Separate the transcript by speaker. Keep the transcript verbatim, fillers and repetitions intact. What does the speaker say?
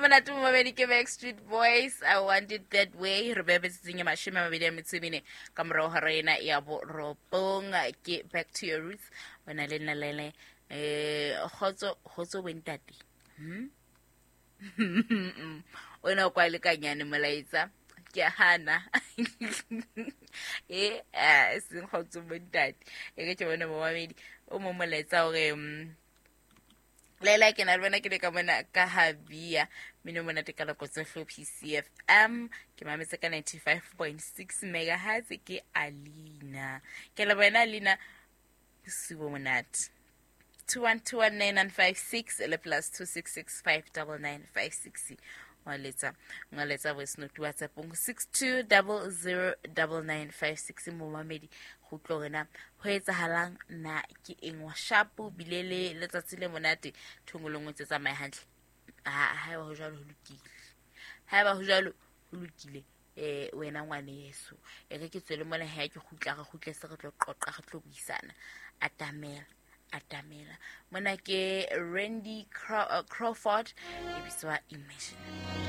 Speaker 1: Monate momamedi ke Backstreet Boys, I Want It That Way. Re beha metsotsong e mashome a mabedi a metso e mene ka morao hora ena ya borobong. Ke Back to Your Roots, o na le nna lele um kgotso kgotso bontate. Hmm? O na kwa lekanyane molaetsa ke a hana e a seng kgotso bontate. E ke ke bone momamedi o mo molaetsa hore mm, Lela ke na le wena ke le ka mona ka habia mino monate ka nako tsohle ho P C F M, ke mametse ka ninety-five point six megahertz. Ke Alina, ke le wena Alina, bosiu bo monate. two one two one nine nine five six le plus two six six five nine nine five six. Ngwaletsa ngwaletsa voice note WhatsApp six two zero zero nine nine five six. Momamedi go utlwa hore na ho etsahalang, na ke eng wa shapo bile le letsatsi le monate thongo le nngwe tse tsamaye hantle. Ha haeba ho jwalo ho lokile, haeba ho jwalo ho lokile. eh wena ngwaneso, e re ke tswele mona ha ke kgutla, re kgutle se re tlo qoqa, re tlo buisana. Atamela, atamela mona ke Randy Craw- uh, Crawford e bitswa Imagine.